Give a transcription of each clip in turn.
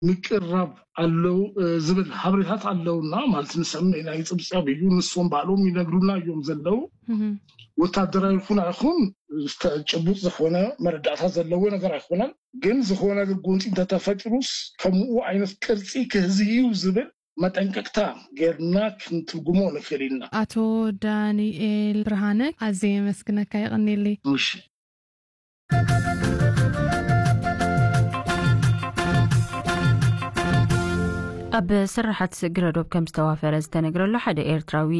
ምቅራብ ኣለው ዝብል ሓበሬታት ኣለውና። ማለት ንሰምዕ ኢና፣ ይፅብፀብ እዩ፣ ንሶም ባዕሎም ይነግሩና እዮም ዘለው። ወታደራዊ ይኹን ኣይኹን ጭቡጥ ዝኾነ መረዳእታ ዘለዎ ነገር ኣይኮነን። ግን ዝኾነ ነገር ጎንፂ እንተተፈጢሩስ ከምኡ ዓይነት ቅርፂ ክህዚ እዩ ዝብል መጠንቀቅታ ጌርና ክንትርጉሞ ንኽእል ኢና። ኣቶ ዳንኤል ብርሃነ፣ ኣዝየ የመስግነካ፣ የቐንየለይ። እሺ። ኣብ ስራሓት ግረዶብ ከም ዝተዋፈረ ዝተነግረሉ ሓደ ኤርትራዊ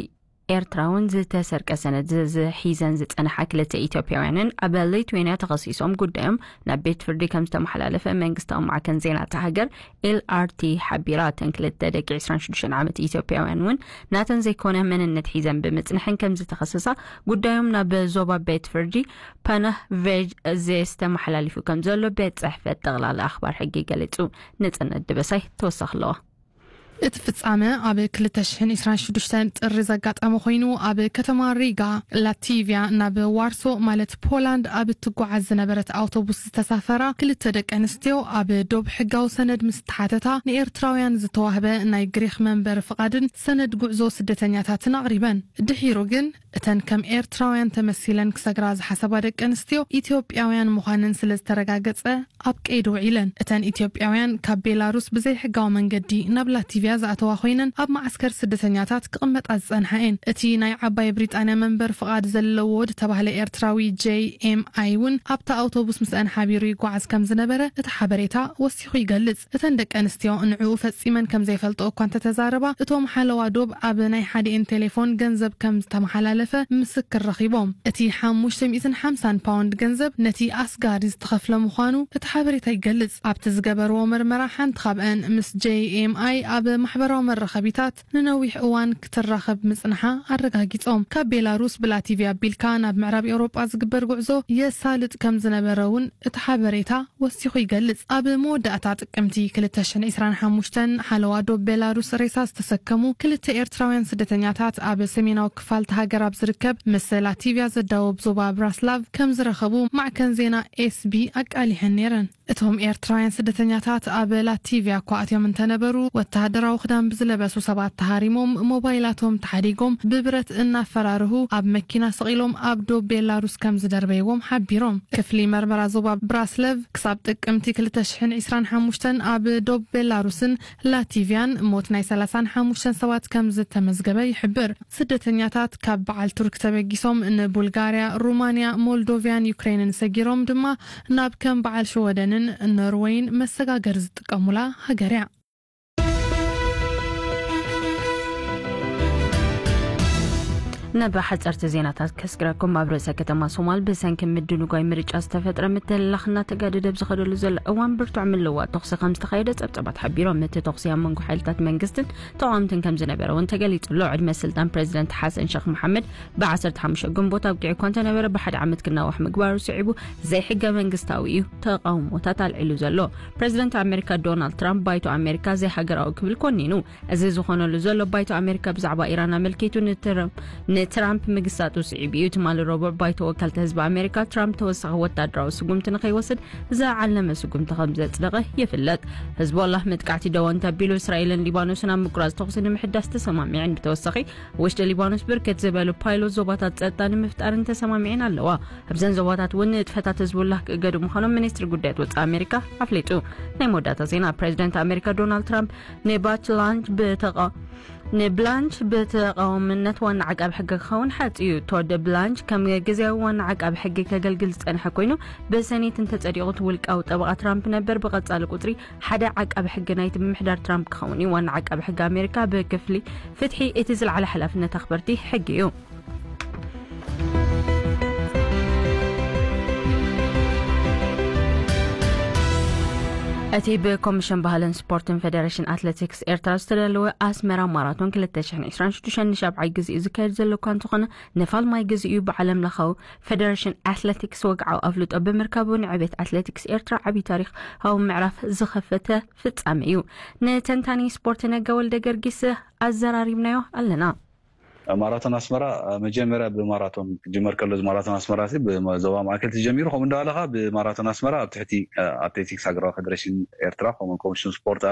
ኤርትራውን ዝተሰርቀ ሰነድ ዝ- ሒዘን ዝጸንሓ ክልተ ኢትዮጵያውያንን ኣብ ሊቱዌንያ ተኸሲሶም ጉዳዮም ናብ ቤት ፍርዲ ከም ዝተመሓላለፈ መንግስታዊ ማዕከን ዜና እታ ሃገር ኤልኣርቲ ሓቢራ። እተን ክልተ ደቂ ዕስራን ሽዱሽተን ዓመት ኢትዮጵያውያን እውን ናተን ዘይኮነ መንነት ሒዘን ብምጽንሐን ከም ዝተኸሰሳ ጉዳዮም ናብ ዞባ ቤት ፍርዲ ፓናህ ቬጅ ዜስ ተመሓላሊፉ ከም ዘሎ ቤት ጽሕፈት ጠቕላላ ኣኽባር ሕጊ ገሊጹ። ነጸነት ድበሳይ ተወሳኺ ኣለዋ። እቲ ፍጻመ ኣብ ክልተ ሽሕን ዕስራን ሽዱሽተን ጥሪ ዘጋጠመ ኮይኑ፣ ኣብ ከተማ ሪጋ ላቲቪያ ናብ ዋርሶ ማለት ፖላንድ ኣብ እትጓዓዝ ዝነበረት ኣውቶቡስ ዝተሳፈራ ክልተ ደቂ ኣንስትዮ ኣብ ዶብ ሕጋዊ ሰነድ ምስ ተሓተታ፣ ንኤርትራውያን ዝተዋህበ ናይ ግሪኽ መንበሪ ፍቓድን ሰነድ ጉዕዞ ስደተኛታትን ኣቕሪበን። ድሒሩ ግን እተን ከም ኤርትራውያን ተመሲለን ክሰግራ ዝሓሰባ ደቂ ኣንስትዮ ኢትዮጵያውያን ምዃነን ስለ ዝተረጋገጸ ኣብ ቀይዲ ውዒለን። እተን ኢትዮጵያውያን ካብ ቤላሩስ ብዘይሕጋዊ መንገዲ ናብ ላቲቪያ ዝኣተዋ ኮይነን ኣብ መዓስከር ስደተኛታት ክቕመጣ ዝጸንሓ እየን። እቲ ናይ ዓባይ ብሪጣንያ መንበር ፍቓድ ዘለዎ ዝተባህለ ኤርትራዊ ጄይ ኤም ኣይ እውን ኣብታ ኣውቶቡስ ምስአን ሓቢሩ ይጓዓዝ ከም ዝነበረ እቲ ሓበሬታ ወሲኹ ይገልጽ። እተን ደቂ ኣንስትዮ ንዕኡ ፈጺመን ከም ዘይፈልጥኦ እኳ እንተተዛረባ፣ እቶም ሓለዋ ዶብ ኣብ ናይ ሓዲኤን ቴሌፎን ገንዘብ ከም ዝተመሓላለፈ ምስክር ረኺቦም። እቲ ሓሙሽተ ሚእትን ሓምሳን ፓውንድ ገንዘብ ነቲ ኣስጋሪ ዝተኸፍለ ምዃኑ እቲ ሓበሬታ ይገልጽ። ኣብቲ ዝገበርዎ መርመራ ሓንቲ ካብአን ምስ ጄይ ኤም ኣይ ኣብ ማሕበራዊ መራኸቢታት ንነዊሕ እዋን ክትራኸብ ምጽንሓ ኣረጋጊጾም። ካብ ቤላሩስ ብላቲቪያ ኣቢልካ ናብ ምዕራብ ኤውሮጳ ዝግበር ጉዕዞ የሳልጥ ከም ዝነበረ እውን እቲ ሓበሬታ ወሲኹ ይገልጽ። ኣብ መወዳእታ ጥቅምቲ ክልተ ሽሕን ዕስራን ሓሙሽተን ሓለዋ ዶብ ቤላሩስ ሬሳ ዝተሰከሙ ክልተ ኤርትራውያን ስደተኛታት ኣብ ሰሜናዊ ክፋል እታ ሃገር ኣብ ዝርከብ ምስ ላቲቪያ ዘዳወብ ዞባ ብራስላቭ ከም ዝረኸቡ ማዕከን ዜና ኤስ ቢ ኣቃሊሐን ነይረን። እቶም ኤርትራውያን ስደተኛታት ኣብ ላቲቪያ እኳ ኣትዮም እንተነበሩ፣ ወተሃደራዊ ክዳን ብዝለበሱ ሰባት ተሃሪሞም፣ ሞባይላቶም ተሓዲጎም፣ ብብረት እናፈራርሁ ኣብ መኪና ሰቒሎም ኣብ ዶብ ቤላሩስ ከም ዝደርበይዎም ሓቢሮም። ክፍሊ መርመራ ዞባ ብራስለቭ ክሳብ ጥቅምቲ ክልተ ሽሕን ዕስራን ሓሙሽተን ኣብ ዶብ ቤላሩስን ላቲቪያን ሞት ናይ ሰላሳን ሓሙሽተን ሰባት ከም ዝተመዝገበ ይሕብር። ስደተኛታት ካብ በዓል ቱርክ ተበጊሶም ንቡልጋርያ፣ ሩማንያ፣ ሞልዶቪያን ዩክሬንን ሰጊሮም ድማ ናብ ከም በዓል ሽወደንን ኖርወይን መሰጋገሪ ዝጥቀሙላ ሃገር እያ። ናብ ሓጸርቲ ዜናታት ከስግረኩም። ኣብ ርእሰ ከተማ ሶማል ብሰንኪ ምድንጓይ ምርጫ ዝተፈጥረ ምትልላኽ እናተጋደደ ኣብ ዝኸደሉ ዘሎ እዋን ብርቱዕ ምልውዋጥ ተኹሲ ከም ዝተኻየደ ጸብጸባት ሓቢሮም። እቲ ተኹሲ ኣብ መንጎ ሓይልታት መንግስትን ተቓወምትን ከም ዝነበረ እውን ተገሊጹ ኣሎ። ዕድመ ስልጣን ፕሬዚደንት ሓሰን ሸኽ መሓመድ ብዓሰርተ ሓሙሽተ ግንቦት ኣብቂዑ እኳ እንተነበረ ብሓደ ዓመት ክናዋሕ ምግባሩ ስዒቡ ዘይሕገ መንግስታዊ እዩ ተቓውሞታት ኣልዒሉ ዘሎ። ፕሬዚደንት ኣሜሪካ ዶናልድ ትራምፕ ባይቶ ኣሜሪካ ዘይሃገራዊ ክብል ኮኒኑ። እዚ ዝኾነሉ ዘሎ ባይቶ ኣሜሪካ ብዛዕባ ኢራን ኣመልኪቱ ንትራምፕ ንትራምፕ ምግሳጡ ስዒቡ እዩ። ትማሊ ረቡዕ ባይቶ ወከልቲ ህዝቢ ኣሜሪካ ትራምፕ ተወሳኺ ወታደራዊ ስጉምቲ ንኸይወስድ ዝዓለመ ስጉምቲ ከም ዘጽደቐ ይፍለጥ። ህዝቦላህ መጥቃዕቲ ደወ እንተቢሉ እስራኤልን ሊባኖስን ኣብ ምቁራጽ ተኹሲ ንምሕዳስ ተሰማሚዐን። ብተወሳኺ ውሽጢ ሊባኖስ ብርክት ዝበሉ ፓይሎት ዞባታት ጸጥታ ንምፍጣርን ተሰማሚዐን ኣለዋ። ኣብዘን ዞባታት እውን ንጥፈታት ህዝቡላህ ክእገዱ ምዃኖም ሚኒስትሪ ጉዳያት ወጻኢ ኣሜሪካ ኣፍሊጡ። ናይ መወዳእታ ዜና። ፕሬዚደንት ኣሜሪካ ዶናልድ ትራምፕ ንባች ላንች ብተቓ ንብላንች ብተቓዋምነት ዋና ዓቃቢ ሕጊ ክኸውን ሓጽዩ። ቶድ ብላንች ከም ግዜያዊ ዋና ዓቃቢ ሕጊ ከገልግል ዝጸንሐ ኮይኑ፣ ብሰኔት እንተጸዲቑ እቲ ውልቃዊ ጠበቓ ትራምፕ ነበር ብቐጻሊ ቁጽሪ ሓደ ዓቃቢ ሕጊ ናይቲ ምምሕዳር ትራምፕ ክኸውን እዩ። ዋና ዓቃቢ ሕጊ ኣሜሪካ ብክፍሊ ፍትሒ እቲ ዝለዓለ ሓላፍነት ኣኽበርቲ ሕጊ እዩ። እቲ ብኮሚሽን ባህልን ስፖርትን ፌደሬሽን ኣትሌቲክስ ኤርትራ ዝተዳለወ ኣስመራ ማራቶን ክልተ ሽሕን ዕስራን ሽዱሽተን ንሻብዓይ ግዜኡ ዝካየድ ዘሎ እኳ እንተኾነ፣ ንፋልማይ ግዜኡ ብዓለም ለኻዊ ፌደሬሽን ኣትሌቲክስ ወግዓዊ ኣፍልጦ ብምርካቡ ንዕቤት ኣትሌቲክስ ኤርትራ ዓብዪ ታሪኻዊ ምዕራፍ ዝኸፈተ ፍጻመ እዩ። ንተንታኒ ስፖርት ነጋ ወልደ ገርጊስ ኣዘራሪብናዮ ኣለና። ማራቶን ኣስመራ መጀመርያ ብማራቶን ክጅመር ከሎ፣ እዚ ማራቶን ኣስመራ ሲ ብዞባ ማእከል ተጀሚሩ፣ ከምኡ እንዳበለ ከዓ ብማራቶን ኣስመራ ኣብ ትሕቲ ኣትሌቲክስ ሃገራዊ ፌደሬሽን ኤርትራ ከምኡ ኮሚሽን ስፖርት